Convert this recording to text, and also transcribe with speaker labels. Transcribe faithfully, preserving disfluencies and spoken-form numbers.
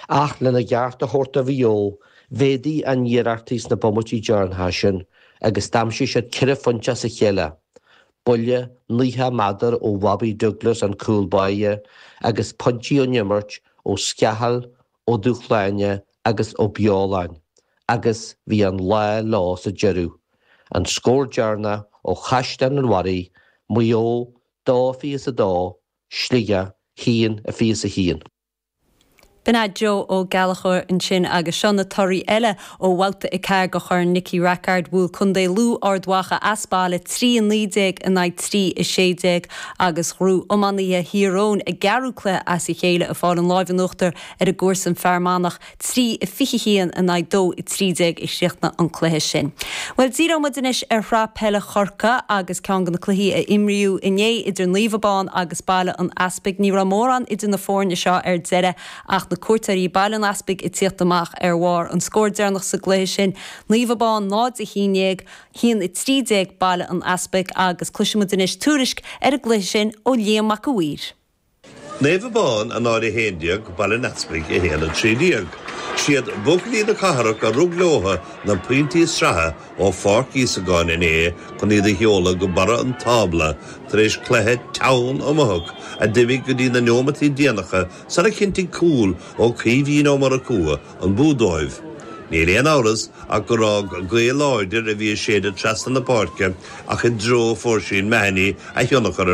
Speaker 1: Ach lena gceart a thabhairt do Mhaigh Eo, mhéadaigh a n-iarrachtaí sna bomaití deireanacha sin agus d'aimsigh siad ceithre phointe as a chéile. Buille nócha méadar ó Bhobby Douglas an cúl báire agus pointí ón imirt ó Scahill, Ó Dúshláine agus Ó Beoláin, agus bhí an lá leo sa deireadh. An scór deireanach ó Chaisleán an Bharraigh, Maigh Eo dó fiche is a dó, Sligeach haon a fiche is a haon.
Speaker 2: B'in é Joe Ó Gallchóir ansin agus seo na torthaí eile ó bhabhta a ceathair de Chorn Nicky Rackard bhuail Contae Lú Ard Mhacha as baile trí a naoi déag in aghaidh trí a sé déag agus ghnóthaigh iománaithe Thír Eoghain a gceathrú cluiche as a chéile ag fáil an lámh in uachtar ar a gcomharsan Fear Manach trí a fiche haon in aghaidh dó a trí déag a chríochnaigh an cluiche sin. Well díreoidh muid anois ar shraith peile Chorcaí agus ceann de na cluichí a imríodh inné idir Naomh Abán agus Baile an Easpaig ní raibh mórán idir na foirne seo ar deireadh ach na cuairteoirí Baile an Easpaig ag tíocht amach ar bharr an scór deireanach sa gcluiche sin Naomh Abán náid a haon déag haon a trí déag Baile an Easpaig agus cloisfimid anois tuairisc ar an gcluiche sin ó Liam Mac a' Mhaoir.
Speaker 3: Naomh Abán a náid a haon déag Baile an Easpaig a haon a trí déag. Siad buachaillí na cathrach a rug leo na pointí sraithe ó Pháirc Íosagáin inné chun iad a sheoladh go barra an tábla tar éis cluiche teann iomaíoch a d'imigh go dtí na nóiméadaí déanacha sara chinntigh cúl ó Caoimhín Ó Murchú an bua dóibh. Níl aon amhras ach gur fhág gaoth láidir a bhí ag séideadh trasna na páirce ach i dtreo Oisín Mahoney a thionchar ar